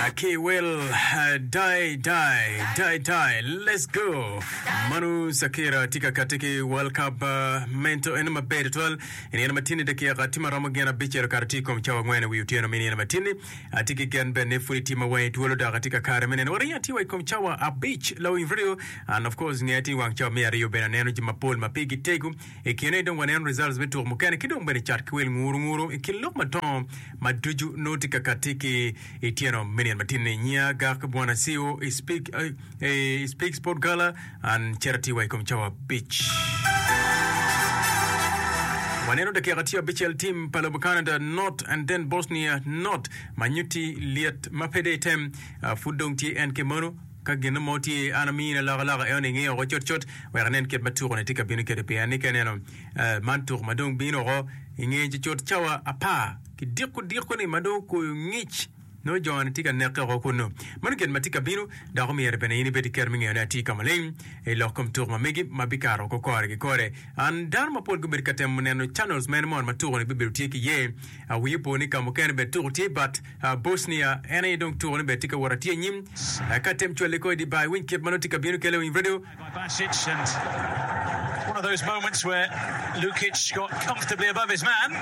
Ki wel die die die die let's go Manu Shakira tye ka kati ki World Cup mento eno maber tutwal i nino matini dakika tye ma romo gin abicel okato tye i kom cawa angwen i wi otyeno me nino matini atye ki gen bene ni pud itye ma wangi twolo dok atye ka kare me neno waringo atye wa i kom cawa abic lawiny radio and of course nge atye i wang cawa me aryo bene aneno ji mapol ma pigi tego I kine dong waneno results me tuko mukene ki dong bene cat ki wel nguru nguru i kin lok madongo ma ducu nongo tye ka kati ki i tyeno me nino matin ni. Nyiya Gak Bwana CEO i Speak, i Speak Sport Gala and cito atir wa i kom cawa abic. Waneno dakika tye abicel team pa lobo Canada not and then Bosnia not ma nyutti lyet ma pe de item uh, pud dong tye en ki mono Ka gin mo tye, an amini alokaloka eno inge oko cutcut wek inen kit ma tuko-ni tye ka bino kwede. Pien ni ka ineno man tuko ma dong bino oko inge cucut cawa apar ki diko diko-ni ma dong okoyo ngic, nongo jo-ni tye ka neke oko kunnu. Meno gin ma tye ka bino, dok omyero bene in ibed ki kero me ngeyone atir ka maleng i lok kom tuko ma megi ma bikato oko kore ki kore. An dano mapol gubedo ka temo neno channels mene moni ma tuko-ni bibedo tye ki iye. Wiyi opo ni ka mukene bene tuko tye but Bosnia en aye dong tuko ni bene tye ka wot atir anyim. Ka tem cwale kor i dye bar iwiny kit ma nongo tye ka bino kele winy radio. Basic and one of those moments where Lukic got comfortably above his man.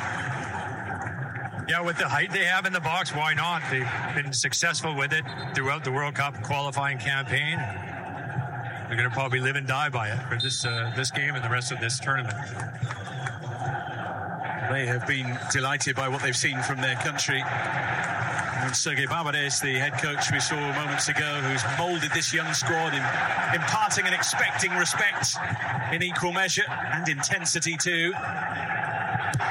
Yeah, with the height they have in the box, why not? They've been successful with it throughout the World Cup qualifying campaign. They're going to probably live and die by it for this, uh, this game and the rest of this tournament. They have been delighted by what they've seen from their country. And Sergei Barbarez, the head coach we saw moments ago, who's moulded this young squad in imparting and expecting respect in equal measure and intensity too.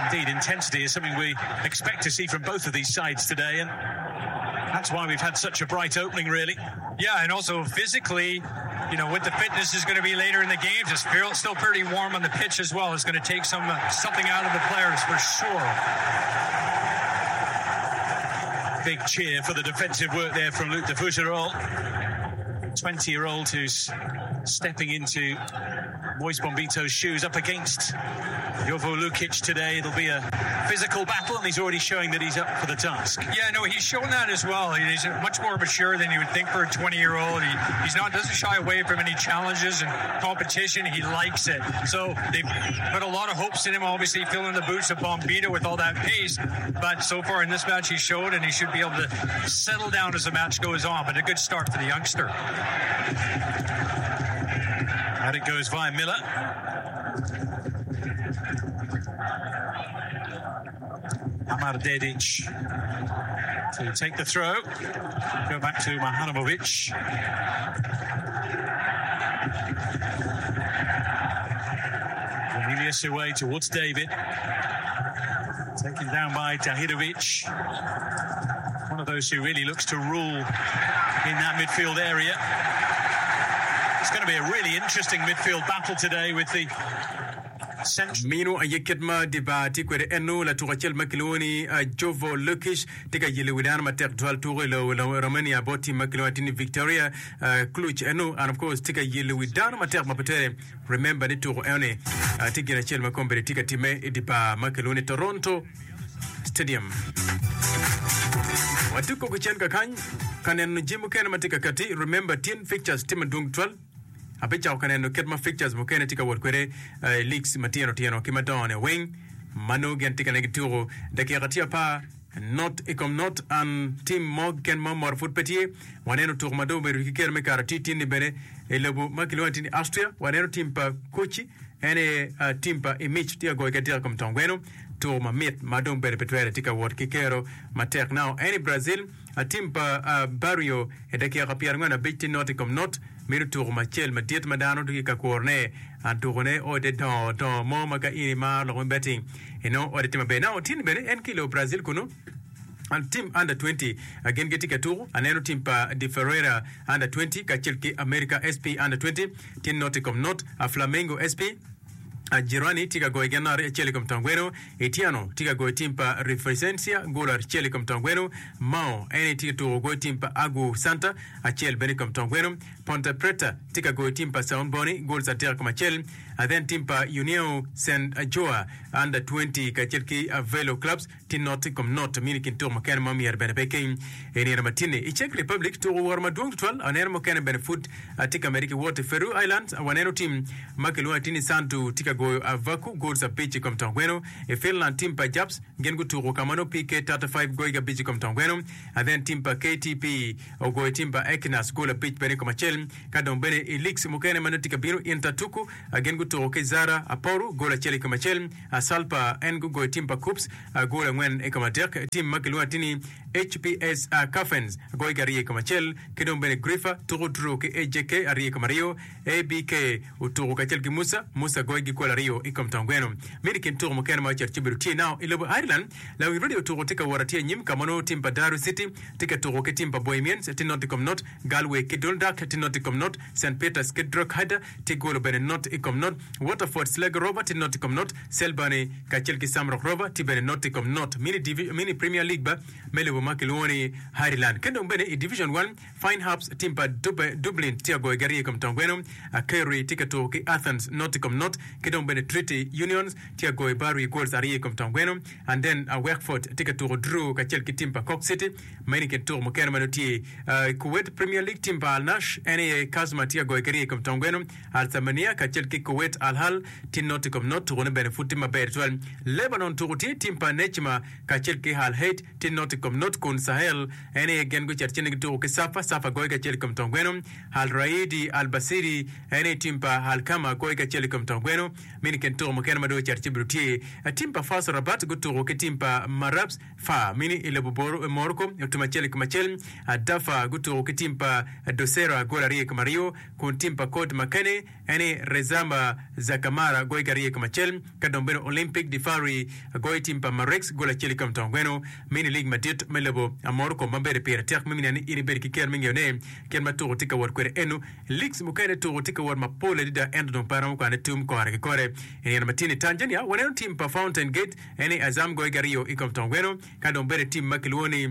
Indeed, intensity is something we expect to see from both of these sides today, and that's why we've had such a bright opening, really. Yeah, and also physically, you know, what the fitness is going to be later in the games. It's still pretty warm on the pitch as well. It's going to take some uh, something out of the players for sure. Big cheer for the defensive work there from Luc de Fougerolles. 20 year old who's stepping into Moise Bombito's shoes up against Jovo Lukic today. It'll be a physical battle, and he's already showing that he's up for the task. Yeah, no, he's shown that as well. He's much more mature than you would think for a 20 year old. He, he's not doesn't shy away from any challenges and competition. He likes it. So they put a lot of hopes in him, obviously filling the boots of Bombito with all that pace. But so far in this match, he showed, and he should be able to settle down as the match goes on. But a good start for the youngster. Out it goes via Miller. Amar Dedic to take the throw. Go back to Maharamovic. Cornelius away towards David. Taken down by Tahirovic. One of those who really looks to rule in that midfield area. It's going to be a really interesting midfield battle today with the Meno aye kit ma dye bar tye kwede eno. Latuk acel ma kilwongo ni Jovo Lukic tye ka yelo wi dano matek tutwal tuko i lobo Romania bot tim ma kilwongo atir ni Victoria Cluj eno and of course tye ka yelo wi dano matek ma pe tere. Remember ni tuko eno ni tye gin acel ma kombeddi tye ka timme i dye bar ma kilwongo ni Toronto Stadium. Watuko ki cen kakany ka neno jami mukene ma tye ka kati. Remember tyen fixtures tye madwong tutwal. Abicako ka neno kit ma fixtures mukene tye ka wot kwede i leagues matino tino ki madongo-ni weng ma nongo gin tye ka neno gituko dakika tye apar not i kom not and team mo keken ma omoro pud pe tye. Waneno tuko ma dong obedo ki kero me kato atir tin-ni bene i lobo ma kilwongo atir ni Austria. Waneno team pa koci en aye team pa Imic tye ka goyo ki atika i kom tong gweno. Tuko mamit ma dong bene pe twere tye ka wot ki kero matek. Now en i Brazil. Tim pa Barrio i dakika 45 tye not i kom not mito tuko macel madit ma dano tye ka kurone. Tukone ode dongo dongo mo ma ka in imaro lok me betting inongo ode tye maber. Now tin bene en ki i lobo Brazil kunu tim under 20 gin gitye ka tuko. Aneno tim pa De Ferreira under 20 kacel ki America SP under 20 tye not i kom not. Flamengo SP Jirani tye ka goyo gin acel i kom tong gweno. Etiano tye ka goyo tim pa Referencia gol acel i kom tong gweno. Mao en aye tye ka tuko goyo tim pa Agu Santa acel bene i kom tong gweno. Ponte Preta tye ka goyo tim pa Saun Boni gols adek i kom acel. Then tim pa União Saint Joa Under 20 kacel ki Velo Clubs tye not i kom not mini kin tuko mukene ma myero bene pe keng i nino ma tye-ni. I Czech Republic, tuko woro madwong tutwal aneno mukene bene pud tye ka medde ki wot. I Faroe Islands, waneno tim ma kilwongo atir ni Sandu tye ka goyo Avaku goals abic i kom tong gweno. I Finland, tim pa Japs gin gutuko ka ma nongo PK 35 goyogi abic i kom tong gweno. Then tim pa KTP ogoyo tim pa Ekinas gol abic bene i kom acel. Ka dong bene i leagues mukene ma nongo tye ka bino, Inter tuku gin gutuko ki Zara Aporu gol acel i kom acel. Salpa en gugoyo tim pa Kups gol angwen i kom adek. Tim ma kilwongo atir ni HPS Caffens goyogi aryo i kom acel. Ki dong bene Grifa tuko draw ki AJK aryo i kom aryo. ABK otuko kacel ki Musa, Musa goyogi gol aryo i kom tong gweno. Medo i kin tuko mukene ma ocito ci obedo tye nao i lobo Ireland, lawiny radio tuko tye ka wot atir anyim ka ma nongo tim pa Derry City tye ka tuko ki tim pa Bohemians tye not i kom not, Galway ki Dundalk tye not i kom not, St Peters ki Drogheda tye golo bene not i kom not, Waterford Sligo Rover tye not i kom not, Selborne kacel ki Shamrock Rover tye bene not i kom not. Mini Divi, Mini Premier League ba me lobo ma kilwongo ni Ireland. Ki dong bene i Division One, Fine Harps tim pa Dube, Dublin tye ka goyo ki aryo i kom tong gweno, Kerry tye ka tuko ki Athens not i kom not, ki dong bene Treaty Unions tye ka goyo Barry goals aryo i kom tong gweno, and then Wexford tye ka tuko draw kacel ki tim pa Cork City. Meno i kin tuko mukene ma nongo tye i Kuwait Premier League, tim pa Al Nassr en aye Kazma tye ka goyo ki aryo i kom tong gweno, Al Thamania kacel ki Kuwait Al Hal tye not i kom not, tukone bene pud tye maber tutwal. Lebanon tuko tye tim pa Nejma kacel ki Al Haid tye not i kom not kun Sahel en aye gin gucito ci ni gituko ki Safa, Safa goyo ki acel i kom tong gweno. Al Raidi Al Basiri en aye tim pa Al Kama goyo ki acel i kom tong gweno. Meno i kin tuko mukene ma dong ocito ci obedo tye. Tim pa Fars Rabat gutuko ki tim pa Marabs Far mini i lobo Morocco otum acel i kom acel. Dafa gutuko ki tim pa Dosera gol aryo i kom aryo, kun tim pa Kot Makene en aye Rezamba Zakamara goyo ki aryo i kom acel. Ka dong bene Olympic de Fari goyo tim pa Marex gol acel i kom tong gweno. Mini lig madit me lobo Morocco ma bedo pire tek me neno ni in ibedo ki ker me ngeyo ne kit ma tuko tye ka wot kwede eno. Ligs mukene tuko tye ka wot mapol adada ento dong pe aromo kwane tum kore ki kore. I nino ma tye ni Tanzania waneno tim pa Fountain Gate En aye Azam goyo ki aryo i kom tong gweno, ka dong bedo tim ma kilwongo ni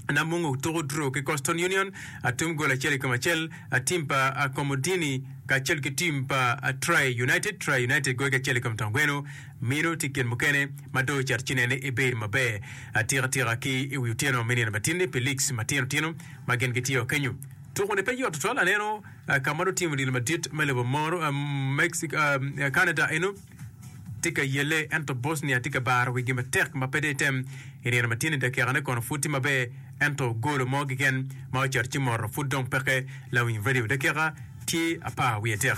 Namungo tuko draw ki Coastal Union atum gol acel i kom acel, tim pa Komodini kacel ki tim pa Tri United, Tri United goyo ki acel i kom tong gweno. Meno tye gin mukene ma dong ocito ci nene ibedo maber atika tika ki i wi otyeno me nino matin-ni pi leagues matino tino ma gin gitye kenyo. Tuko-ni pe yot tutwal aneno ka ma dong timo odilo madit me lobo moro Mexico, Canada eno. tye ka yelle ento Bosnia tye ka baro wigi matek ma pe dong item. I nino ma tye-ni dakikane kono pud tye maber ento golo mo keken ma ocito ci moto pud dong peke. Lawiny Radio dakika tye apar wiye adek.